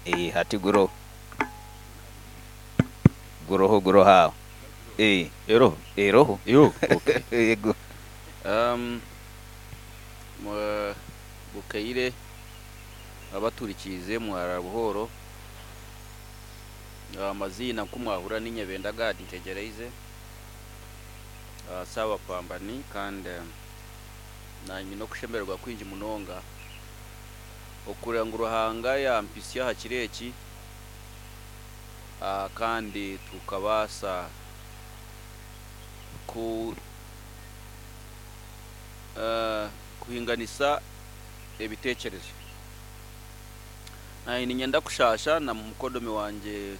Hati guroho, guroho, guroho aho. Eroho? Eroho. Yo, okay. Yego. Bukaire abaturikiize, mwarara buhoro. Amaziina nkumwahura ni Nyebenda Gad Ntegyereize, Saabapambani, kandi nanye okushemererwa kwingi munonga okureba ngu Ruhanga yampisya aha kiro eki, kandi tukabaasa kuhinganisa ebiteekyerezo. Naanye niinyenda kushaasha na mukodomi wangye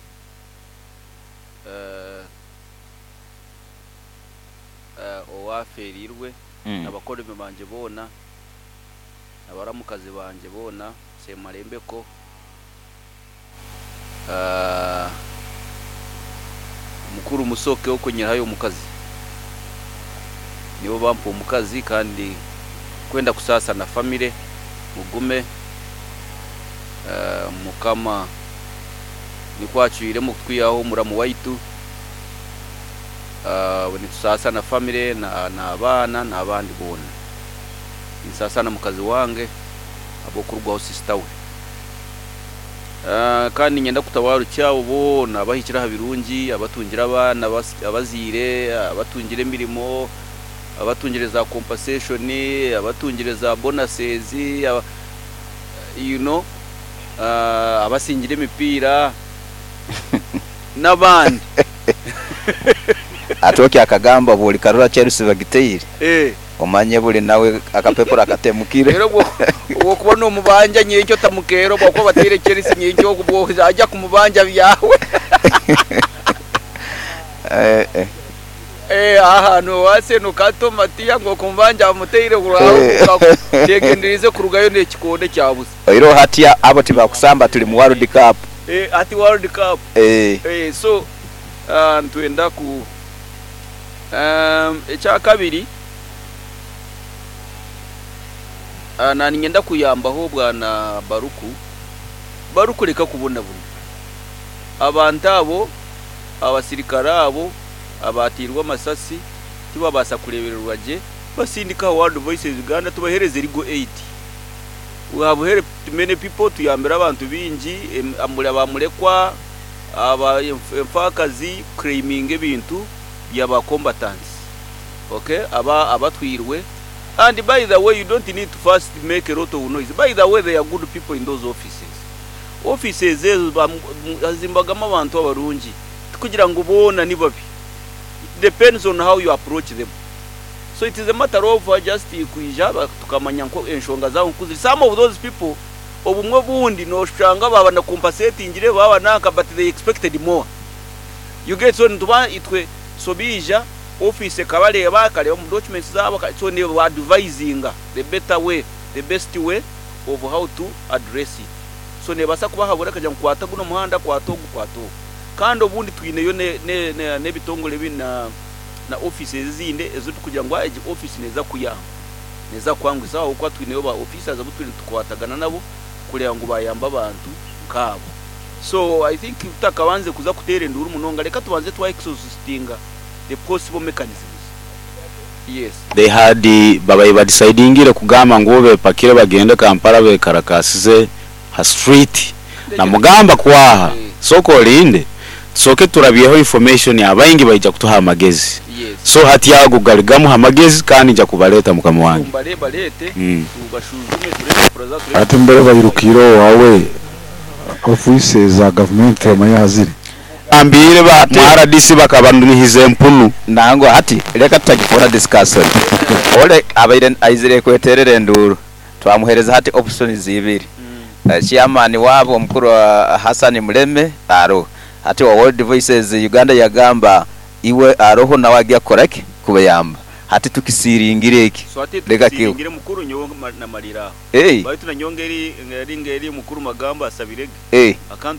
owaafeereirwe, abakodomi bangye boona, abaramukazi bangye boona, Semarembeko, mukuru Musoke okunyihayo omukazi. Nibo bampa omukazi, kandi kwenda kusaasa na family, mugume, Mukama nikwo acwiremu kutwihaho omuramu waitu. Nitusaasa na family n'abaana n'abandi boona. Ninsaasa na mukazi wange ahabw'okurugwaho sister we. Kandi niinyenda kutabarukya abo boona abahikire aha birungi, abatungire abaana abazaire, abatungire emirimo, abatungire za compensation, abatungire za bonuses, abasingire emipiira n'abandi. Ati oki akagamba bwolikarora Chelsea bagiteire, omanye buli nawe akapepura akatemukire. Rero obwokuba nomubanja nyenkya otamukeera, obwokuba bateire Chelsea nyenkya obwo ajja kumubanja byawe. Aha nowase kato Matiya ngu okumubanja amuteire, kyegenderize kurugayo n'ekikonde kyabusa. Oiroho hati abo tibakusamba, tuli mu World Cup. Ati World Cup. So nitwenda ku ekyakabiri, naninyenda kuyambaho bwana Baruku. Baruku, leka kubonabona abantu abo. Abasirikare abo abatirwe amasasi tibabaasa kurebererwa gye, basindika World Voices Uganda tubahereze legal aid. We have helped many people, tuyambire abantu bingi, abamurekwa, aba enfaakazi claiming ebintu byaba combatants, okay, aba abatwirwe. And by the way, you don't need to first make a lot of noise. By the way, there are good people in those offices. Offices ezo hazimbagamu abantu abarungi, tikugira ngu boona ni babi. It depends on how you approach them. So it is a matter of just kwija tukamanya nko enshonga zabo nkuziri. Some of those people, obumwe bundi noshanga baba na compensatingire baba nanka, but they expected more, you get? So nituba itwe, so bija office ekabareba, akareba mu documents zabo, so ni advisinga the better way, the best way of how to address it. So nebasa kubahabura akagira ngu kwata guno muhanda, kwata ogu, kwata ogu. Kandi obundi twineyo n'ebitongole bi na offices ezindi ezo tukugira ngu egi office neza kuyamba, neza kwangusa aho kuba twineyo ba officers abo turi tukwatagana nabo kureba ngu bayamba abantu nkabo. So I think tutakabanze kuza kutera enduru munonga, reka tubanze twa exhaustinga the possible mechanisms, yes. They had babaye badecidingire kugamba ngu bepakire bagende Kampala, bekarakasize ha street namugamba kwaha. Soko olinde, tusoke turabyeho information, abaingi baija kutuha amagezi. So hati ago galigamu amagezi, kandi nja kubaleta, mukama wange. Mbale balete, tubashuzume, turebe puraza, turebe. Ate mbere bayirukire wawe ofisi za gavumenti bamanye haziri. Ambire ba mu RDC bakabanunihiza empunu. Nango hati reka tutagikora discussion. Ole abaire aizire kweterera enduru, twamuhereza hati options ibiri. Chairman wabo omukuru wa Hassan Muleme aro hati wa World Voices Uganda yagamba iwe aroho nawe agiye kukoraki kubayamba. Hati tukisiringire eki. So ati Reka. Tusiringire mukuru nyowe namalira aho. Baitu nanyongeri ngeri ngeri mukuru magamba asabirege akantu.